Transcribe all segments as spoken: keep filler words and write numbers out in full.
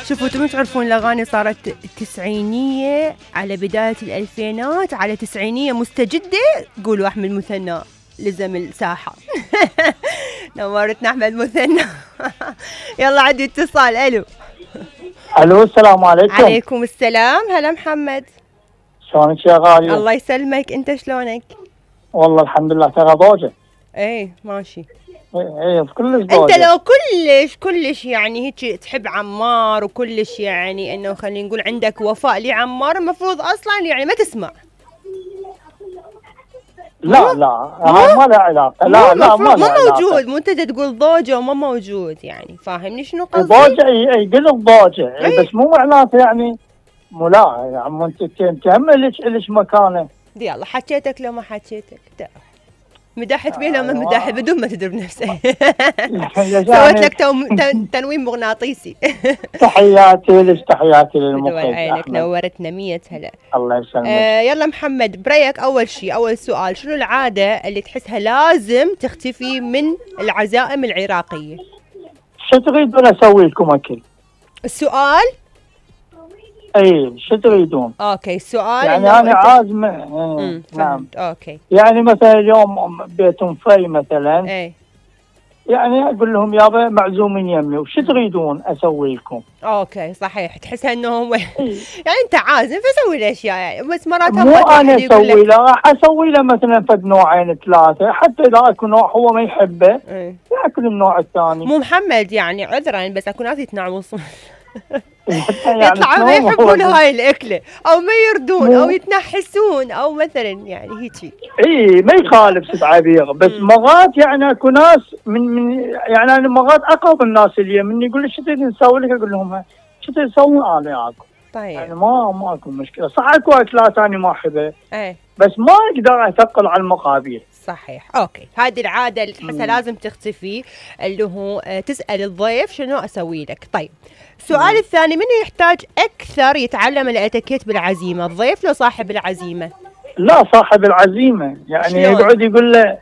شوفوا انتم تعرفون الاغاني صارت تسعينيه على بدايه الالفينات على تسعينيه مستجده. قولوا احمد مثنى لزم الساحه. نورتنا احمد مثنى. يلا عندي اتصال. الو الو السلام عليكم. عليكم السلام. هلا محمد، شلونك يا غالية؟ الله يسلمك، انت شلونك؟ والله الحمد لله. ترى ضوجة. ايه ماشي. ايه ايه كلش ضوجة. انت لو كلش كلش يعني هيك تحب عمار وكلش يعني انه خلينا نقول عندك وفاء لعمار، المفروض اصلا يعني ما تسمع. لا لا هاي ما له علاقة. لا لا ما ما موجود. مو انت تقول ضوجة وما موجود، يعني فاهمني شنو قصدي؟ ضوجة اي قلت ضوجة اي بس مو معناته يعني مو. لا يا عم انت انت هم ليش ليش مكانه. يلا حكيتك لو ما حكيتك مدحت بيه لو ما مدحت بدون ما تدري بنفسك. سويت لك تنويم مغناطيسي. تحياتي لك، تحياتي للمخرج عينك، نورتنا مية هلا. الله يسلمك. آه يلا محمد، بريك اول شيء اول سؤال، شنو العاده اللي تحسها لازم تختفي من العزائم العراقيه؟ شو تريدون اسوي لكم اكل؟ السؤال اي شو تريدون؟ اوكي السؤال يعني انا عازمه. ايه نعم اوكي. يعني مثلا اليوم بيتهم في مثلا اي يعني اقول لهم يابا معزومين يمي وش تريدون اسوي لكم؟ اوكي صحيح، تحسها انه هو يعني انت عازم فسوي الاشياء يعني، بس مرات مو انا اسوي له، راح اسوي له مثلا فد نوعين ثلاثه، حتى اذا اكو نوع هو ما يحبه ياكل النوع الثاني. مو محمد يعني عذرا بس اكو ناس يتنعمصون. يعني يطلعوا ما يحبون هاي الاكله او ما يردون او يتنحسون او مثلا يعني هيجي. اي ما يخالف سبعبير، بس مرات يعني اكو ناس من من يعني انا مرات اقرب الناس اللي من يقول لي شو تريد نسوي لك، اقول لهم شو تريد تسوون انا اكل. طيب يعني ما ما اكو مشكله. صح اكو اكلات انا ما احبها ايه بس ما اقدر اثقل على المقابيل. صحيح. اوكي هذه العاده اللي تحسها لازم تختفي، اللي هو تسال الضيف شنو اسوي لك. طيب السؤال مم. الثاني، منو يحتاج اكثر يتعلم الاتيكيت بالعزيمه، الضيف لو صاحب العزيمه؟ لا صاحب العزيمه، يعني يقعد يقول له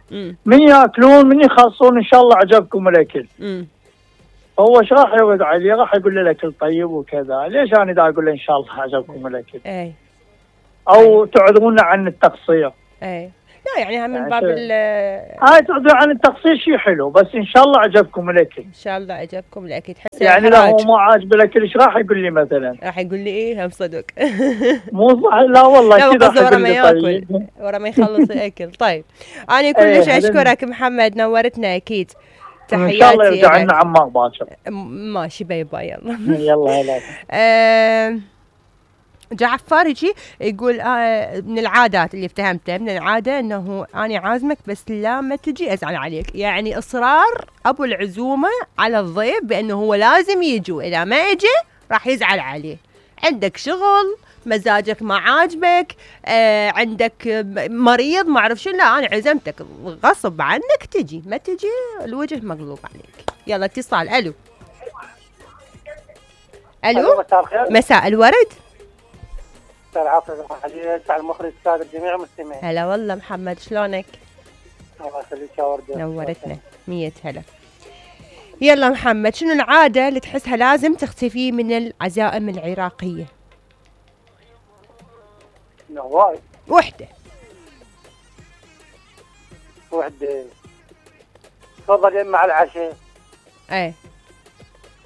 من ياكلون من يخلصون ان شاء الله عجبكم الاكل. امم هو ايش راح يرد عليه؟ راح يقول له الاكل طيب وكذا. ليش انا دا اقول له ان شاء الله عجبكم الاكل؟ اي او أي. تعذرونا عن التقصير. اي لا يعني من باب ال هاي تعذر عن التقصير شيء حلو، بس ان شاء الله عجبكم الاكل. ان شاء الله عجبكم الاكل. تحس يعني لو هو ما عاجب الاكل ايش راح يقول لي مثلا؟ راح يقول لي ايه هم صدق. مو صح. لا والله كذا راح ورا ما ياكل ورا ما يخلص الاكل. طيب انا كلش ايه اشكرك محمد، نورتنا اكيد. تحياتي. ان شاء الله يرجع لنا عمار باكر. ماشي باي باي. يلا يلا هلا. آه جعفر يجي يقول آه من العادات اللي افتهمتها، من العادة انه انا عازمك بس لا ما تجي ازعل عليك، يعني اصرار ابو العزومة على الضيف بانه هو لازم يجي، واذا ما اجى راح يزعل عليه. عندك شغل، مزاجك ما عاجبك، آه عندك مريض ما اعرف شو، لا انا عزمتك غصب عنك تجي، ما تجي الوجه مقلوب عليك. يلا اتصال. الو الو مساء الخير. مساء الورد. العفو على المخرج السادة جميع المستمعين. هلا والله محمد شلونك؟ الله يخليك يا وردة. نورتنا مية هلا. يلا محمد، شنو العادة اللي تحسها لازم تختفي من العزائم العراقية؟ نواي وحدة وحدة تفضل يم مع العشاء. ايه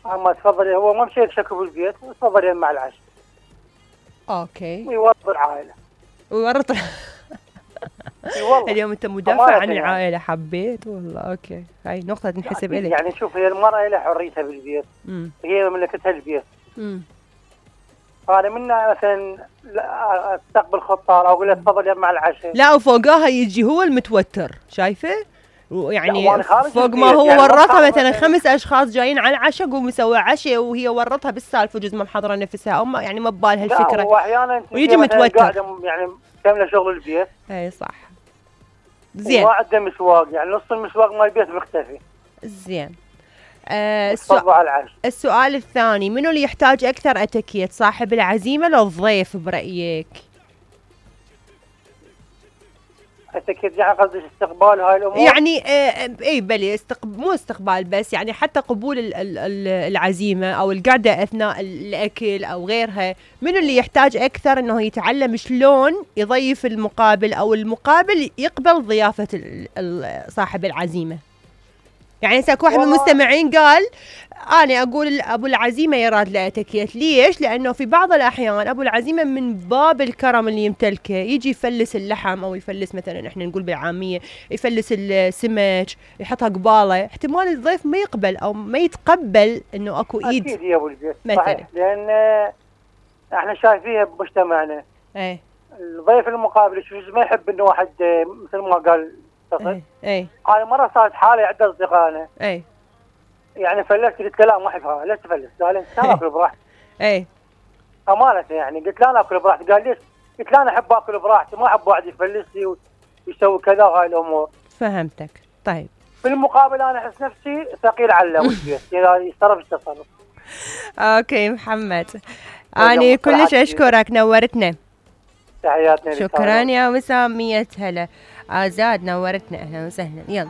اما تفضل هو ما مشي شكو بالبيت، تفضل يم مع العشاء. اوكي. ويورط العائلة ويورط. اليوم انت مدافع عن العائلة، حبيت والله. اوكي هاي نقطة تنحسب يعني إلك. يعني شوف هي المرأة لها حريتها بالبيت، امم هي مملكتها البيت. امم فانا منا مثلا استقبل خطار او اقول له تفضل يم مع العشاء، لا وفوقها يجي هو المتوتر، شايفه؟ يعني فوق ما هو يعني ورطها مثلا خمس اشخاص جايين على العشاء، قوم مسوي عشاء وهي ورطها بالسالفه، جزء ما محضره نفسها او ما يعني ما ببالها الفكره. لا هو احيانا ويجي متوتر يعني كامله شغل البيت. اي صح. زين. ما عنده مسواق، يعني نص المسواق مال البيت مختفي. زين. آه السؤال السؤال الثاني، منو اللي يحتاج اكثر اتيكيت، صاحب العزيمه لو الضيف برايك؟ اكيد يعني قصدي استقبال هاي الامور يعني آه اي بلي استقب... مو استقبال بس، يعني حتى قبول ال ال ال العزيمه او القعده اثناء الاكل او غيرها، منو اللي يحتاج اكثر انه يتعلم شلون يضيف المقابل او المقابل يقبل ضيافه ال ال صاحب العزيمه. يعني هسه اكو واحد من المستمعين قال انا اقول ابو العزيمه يراد له اتكيت، ليش؟ لانه في بعض الاحيان ابو العزيمه من باب الكرم اللي يمتلكه يجي يفلس اللحم او يفلس مثلا احنا نقول بالعاميه يفلس السمك يحطها قباله، احتمال الضيف ما يقبل او ما يتقبل انه اكو ايد. اكيد يا ابو البيت مثلا صحيح، لان احنا شايفينها بمجتمعنا ايه الضيف المقابل شو ما يحب انه واحد مثل ما قال ايه ايه انا مره صارت حالي عند اصدقائنا ايه يعني فلست قلت له لا ما احبها، ليش تفلس؟ قال انت اكل براحتي. ايه امانه يعني قلت له انا اكل براحتي، قال ليش؟ قلت له انا احب اكل براحتي ما احب واحد يفلس لي ويسوي كذا هاي الامور. فهمتك. طيب بالمقابل انا احس نفسي ثقيل على البيت اذا يتصرف التصرف. اوكي محمد، اني كلش اشكرك، نورتنا. تحياتنا. شكرا يا وسام، مية هلا. آزاد نورتنا، اهلا وسهلا. يلا